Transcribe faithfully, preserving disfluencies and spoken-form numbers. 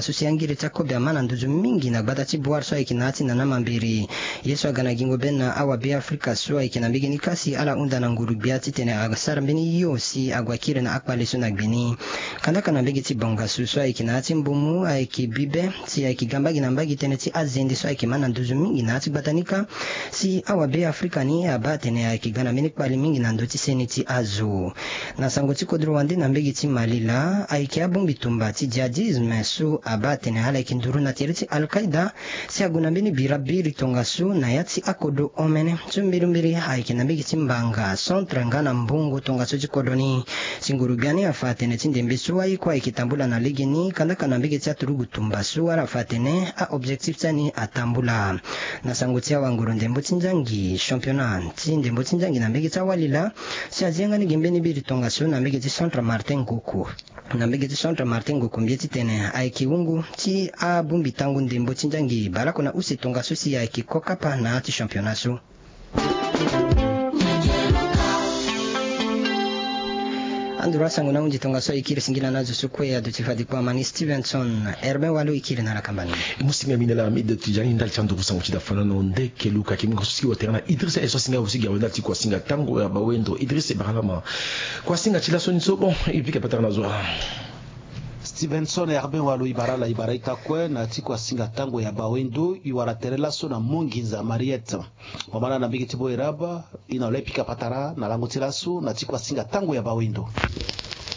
so si angiri ti akobe ama na nduzu mingi na gbata ti Bouar so ayeke na ya ti Nana Mambéré. Ye so aga na gingo be na awabe Afrika so ayeke na mbege ni kâ si ala hunda na nguru-gbia titene asara mbeni hio si ague akiri na akpale so na gbe ni. Kandaka na mbege ti Bangassou so ayeke na ya ti Mbomou ayeke bi be si ayeke ga mbage na mbage tënë ti azende so ayeke ma na nduzu mingi na ya ti gbata ni kâ si awabe Afrika ni abaa atene ayeke ga na mbeni kpale mingi na ndö ti seni ti azo. Na sango ti kodro wande na mbege ti Mali laa, ayeke abongbi tumba ti djihadisme so abaa atene ala yeke nduru na tere ti Al-Qaïda si ague na mbeni bira biri tongaso na ya ti akodro omene. So mbirimbiri ayeke na mbege ti Mbanga, Centre nga na Mbongo tongaso ti kodro ni. Si nguru-gbia ni afa atene ti ndembe so aye kue ayeke tambula na legeni, kandaka na mbege ti aturugu tumba so ala fa atene a-objectif ti ani atambula. Na sango ti awanguru ndembo ti nzangi, championnat ti ndembo ti nzangi na mbege ti awali laa, si azi yanga ni gi mbeni biri tongaso na mbege ti Centre Martin Ngoko. Na mbege ti Centre Martin Ngoko mbi ye titene ayeke wungu ti abongbi tango ndembo ti nzangi baleoko na use tongaso si ayeke ko kapa na ya ti championnat so. Anduru asango na ahunzi tongaso e kiri singila na azo so kue aduti fade kua, amani Stevenson Herbin Walo e kiri na ala kamba ni. Musinga mine la Hamid Tijani ndali ti anduru sango ti da fanano nde ke luka ke mingo so si wa tera na Idrissa e so asinga aussi gi awe ndali ti kua singa tango ya bawendo. Idrissa e bara lama. Kua singa ti laso ni so bon e pika patara na zo. Stevenson Herbin Walo e bara ala e bara ita kue na ti kua singa tango ya bawendo e wara tere laso na Monginza Mariette. Mama na na mbege ti Boeraba, e na lo e pika patara na lango ti laso na ti kua singa tango ya bawendo.